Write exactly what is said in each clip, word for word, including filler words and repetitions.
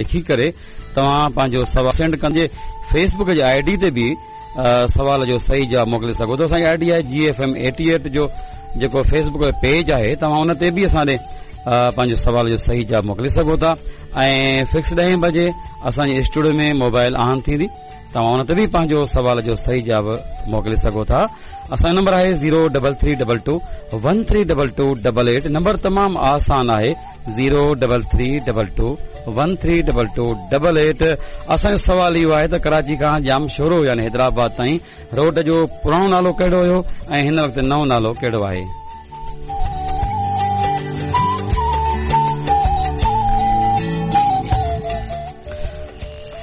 لکي ڪري توهان پنهنجو سوال سينڊ ڪندي فيسبڪ جي I D تي به سوال جو صحيح جواب موڪلي سگهو ٿا. اسان جي I D آهي جي ايف ايم ايٽي ايٽ جو جيڪو فيسبڪ جو پيج آهي، توهان ان تي به اسان ڏي پنهنجو سوال جو صحيح جواب موڪلي سگهو ٿا. ۽ فڪس ڏهين بجي اسان جي اسٽوڊيو ۾ موبائل آن ٿيندي، توهان ان تي به پنهنجو سوال جو صحيح جواب موڪلي سگهو ٿا. اسان جو نمبر آهي zero double three double two one three double two double eight. Number تمام آسان آهي، zero double three double two one three double two double eight. اسان جو سوال اهو آهي ته ڪراچي کان ڄامشورو يعني حيدرآباد تائين روڊ جو پراڻو نالو ڪهڙو هيو ۽ هن وقت نئون نالو ڪهڙو آهي؟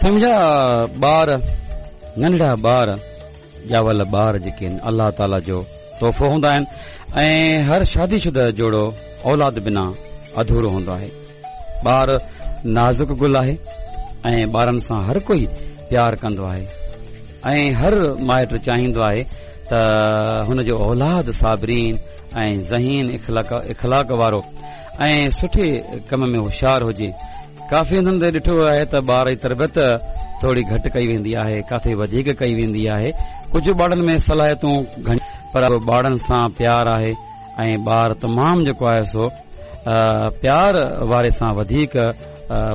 سمجھا ٻار، ننڍڙا ٻار، ڄاول ٻار جيڪي آهن الله تعاليٰ جو تحفو هوندا آهن ۽ هر شادي شده جوڙو اولاد بنا اڌورو هوندو آهي. ٻار نازڪ گل آهي ۽ ٻارن سان هر ڪوئي پيار ڪندو آهي ۽ هر مائٽ چاهيندو آهي ته هن جو اولاد صابرين ۽ ذهين اخلاق اخلاق وارو ۽ سٺي ڪم ۾ هوشيار هجي. ڪافي هنڌن تي ڏٺو ويو آهي ته ٻار جي تربيت ٿوري گهٽ ڪئي ويندي آهي، ڪاٿي وڌيڪ ڪئي ويندي آهي. ڪجهه ٻارن ۾ صلاحيتون گهڻيون پر ٻارن سان پيار آهي ۽ ٻار تمام جيڪو آهي سو پيار واري سان وڌيڪ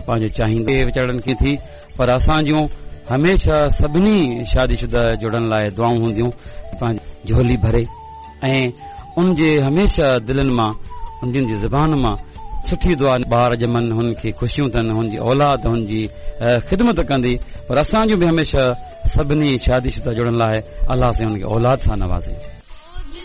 پنهنجو چاهيندي ويچارن کي ٿي. پر اسان جون هميشه سڀني شادي شده جوڙن لاء دعائون هونديون پنهنجي جهولي ڀري ۽ ان جي هميشه دلن مان انهن جي زبان مان سٺي دعا، ٻار ڄمن هن کي خوشيون ٿين، هن جي اولاد هن جي خدمت ڪندي. پر اسان جون به هميشه سڀني شادي شده جوڙن لاء الله سائين هن کي اولاد سان نوازي.